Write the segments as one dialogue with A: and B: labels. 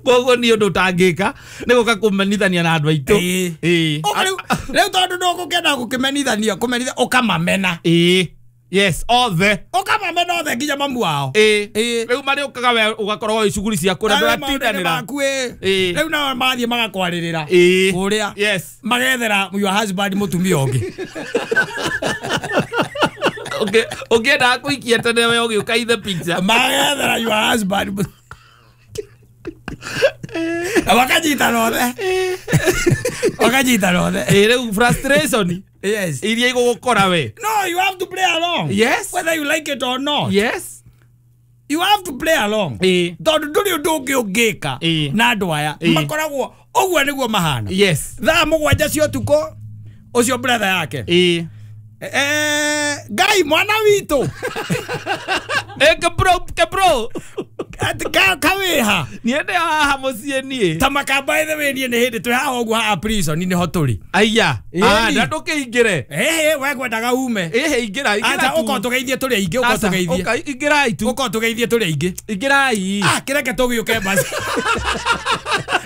A: Koguo ni undu utangika ni guka kumenithania na andu aitu.
B: Ĩĩ. Rĩu tondu ndũgũkĩenda gũkĩmenithania kũmenithia ũkamamena.
A: Ĩĩ. Yes, othe.
B: Ũkamamena othe nginya mamu wao.
A: Ĩĩ. Rĩu marĩũkaga we ũgakorwo wĩ cuguri ciaku na ndũratindanĩra.
B: Ĩĩ. Rĩu nao mathiĩ magakwarĩrĩra.
A: Ĩĩ.
B: Kũrĩa.
A: Yes.
B: Magethera your husband mũtumia ũngĩ.
A: Okay, ũngĩenda kũikia tene we ũgĩũka in the picture.
B: Magethera your husband. Wakanyitana othe. Wakanyitana othe.
A: Ĩĩ rĩu frustration.
B: Yes.
A: Iria igũgũkora we.
B: No, you have to play along.
A: Yes.
B: Whether you like it or not.
A: Yes.
B: You have to play along.
A: Ĩĩ.
B: Tondũ ndũrĩ ũndũ ũngĩ ũngĩka na andũ aya makoragwo ũguo nĩguo mahana.
A: Yes.
B: Thaa 7 cia ũtukũ ũcio brother yake.
A: Ĩĩ.
B: Ngai mwana witũ.
A: Kebro kebro.
B: Kawĩha.
A: Niĩ haha mũciĩ niĩ.
B: Ta makamba ithe wĩ niĩ nĩ hĩndĩ twĩ haha ũguo haha prison nĩho tũrĩ.
A: Aya. Na ndũkĩingĩre.
B: Ĩhĩ we ngwendaga ume.
A: Ĩhĩ ingĩra ingĩra.
B: Acha ũkorwo tũgeithie tũrĩ aingĩ ũkorwo tũgeithie.
A: Ũka ingĩrai tu.
B: Ũkorwo tũgeithie tũrĩ aingĩ.
A: Ingĩrai.
B: Ah kĩreke tũgĩũke basi.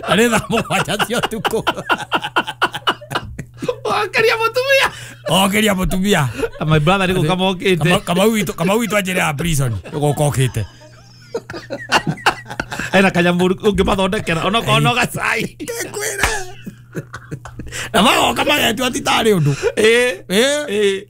B: Arĩ thaa 7 cia ũtukũ.
A: Okeria mũtumia.
B: Okeria mũtumia.
A: My brother nĩ gũka mokĩte.
B: Kamau witũ anjĩre ya prison gũka okĩte.
A: Ena kanyamũ ũngĩmathondekera onokorwo no gacai.
B: Ngwĩre. Na magoka magetua ti tarĩ ũndũ.
A: Ĩĩ.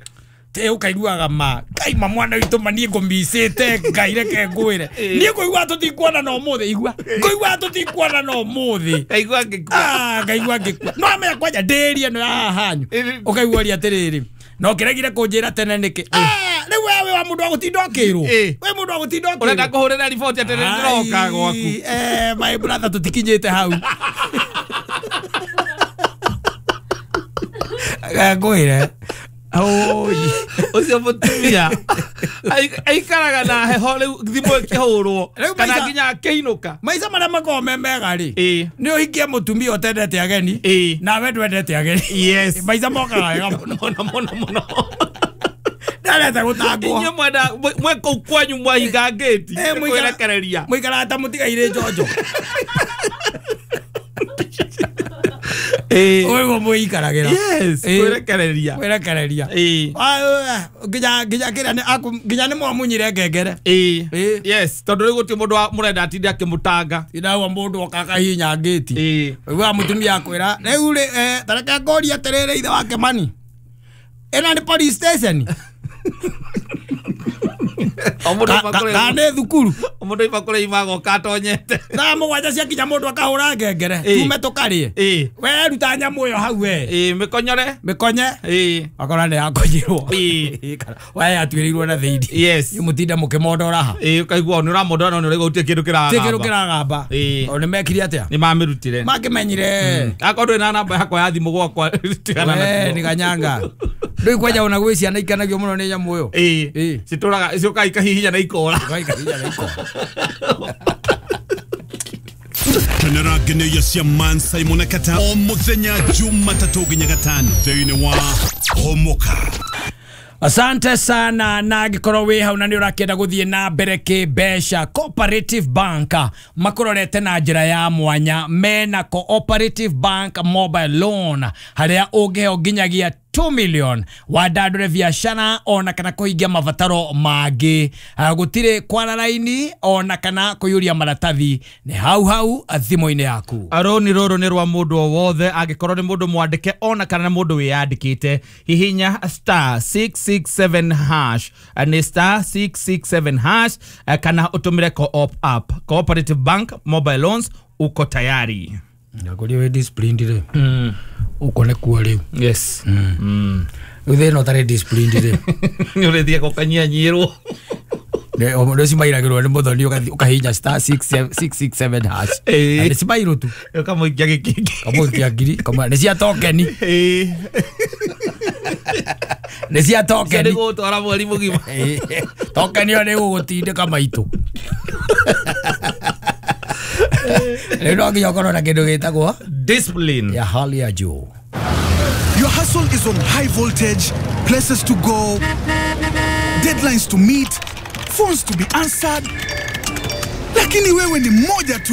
B: Te ũkaiguaga ma Ngai ma mwana witũ ma niĩ ngũmicĩte Ngai reke ngwĩre. Niĩ ngũigua tũtikuona na ũmũthĩ igua. Ngũigua tũtikuona na ũmũthĩ.
A: Ngaigua ngĩkua.
B: Ah ngaigua ngĩkua. No amenya kwanja ndĩrie ĩno ya haha hanyu. Ũkaigua ũria atĩrĩrĩ. No kĩregire kũnjĩra tene nĩkĩ? Ah rĩu we wa mũndũ wa gũtinda ũkĩrwo. We mũndũ wa gũtinda ũkĩrwo.
A: Ũrenda kũhũrĩra riboti atĩ nĩndĩroka gwaku.
B: My brother tũtikinyĩte hau. Ngwĩre. Oi,
A: ũcio mũtumia aikaraga na heho rĩu thimũ ĩkĩhũrwo kana nginya akĩinũka.
B: Maica marĩa makoragwo me mega rĩ nĩ ũhikie mũtumia ũtendete ageni nawe ndwendete ageni.
A: Yes.
B: Maica mokaga wega
A: mũno mũno mũno.
B: Ndarenda gũtangwo.
A: Inyuĩ mwenda mwe kũu kwanyu mwahinga ngĩti kwĩrekereria.
B: Mũikaraga ta mũtigairĩ njonjo. Ũguo mũikaragĩra.
A: Yes, kwĩrekereria.
B: Kwĩrekereria. Nginya nginya kĩrĩa nginya nĩ mwamunyire ngengere.
A: Yes, tondũ rĩu gũtirĩ mũndũ mũrenda atinde akĩmũtanga.
B: Tindaua mũndũ oka akahihinya ngĩti. Ũiguaga mũtumia akwĩra rĩu rĩ ta reke ngũrie atĩrĩrĩ ithe wake mani. Ĩno nĩ police station. Kana nĩ thukuru.
A: Mũndũ oima kũrĩa ima agoka atonyete.
B: Thaa 7 ciakinya mũndũ akahũra ngengere. Tume tũkarĩe. We ruta nyamũ ĩyo hau we.
A: Mĩkonyore.
B: Mĩkonye. Akora nĩ yakonyirwo. We yatuĩrĩirwo na thĩinĩ.
A: Yes.
B: Mũtinde mũkĩmondora ha.
A: Ũkaigua nĩ ũramondora no nĩ ũraigua gũtirĩ kĩndũ kĩragamba.
B: Gũtirĩ kĩndũ kĩragamba. O nĩ mekire atĩa?
A: Nĩ mamĩrutire.
B: Makĩmenyire.
A: Akorwo ndũrĩ na namba yakwa ya thimũ gwakwa tigana
B: nakuo. We nĩ ganyanga. Ndũĩ kwanja ona gwĩ ciana ikenagio mũno nĩ nyamũ ĩyo.
A: Ĩĩ. Citũraga ciũkaga ikahihinya na ikora.
B: Ikahihinya na ikora.
C: Kenera ngeneia cia Man Simon Kata o muthenya Jumatatũ nginya Gatano thĩinĩ wa Homoka.
B: Asante sana na angĩkorwo wĩ hau na nĩ ũrakĩenda gũthiĩ na mbere kĩmbeca Cooperative Bank makũrorete na njĩra ya mwanya mena Cooperative Bank mobile loan harĩa ũngĩheo nginyagia 2 million wandandũre biacara ona kana kũhingia mabataro mangĩ. Gũtirĩ kwara raini ona kana kũiyũria maratathi nĩ hau hau thimũ-inĩ yaku.
A: Rũni rũrũ nĩ rwa mũndũ o wothe angĩkorwo nĩ mũndũ mwandĩke ona kana nĩ mũndũ wĩyandĩkĩte. Hihinya *667# nĩ *667# kana ũtũmĩre Co-op app. Cooperative Bank mobile loans uko tayari.
B: Ndakũria wĩ disciplined rĩ. Uko nĩkuo rĩu.
A: Yes.
B: Rĩu thĩna ũtarĩ disciplined rĩ.
A: Nĩ ũrĩthiaga ũkanyianyĩrwo.
B: Nĩ cimairagĩrwo nĩ mũthoni ũkahihinya *667#. Na nĩ cimairũ tu.
A: Ũkamũikia gĩkĩngĩ.
B: Ũkamũikia ngiri. Nĩ cia tokeni. Nĩ cia tokeni.
A: Nĩ gũgũtwara mweri mũgima.
B: Tokeni ĩyo nĩ ĩgũgũtindĩka maitũ. Rĩu no nginya ũkorwo na kĩndũ gĩtagwo
A: discipline
B: ya hali ya juu.
C: Your hustle is on high voltage, places to go, deadlines to meet, phones to be answered. Lakini wewe ni moja tu.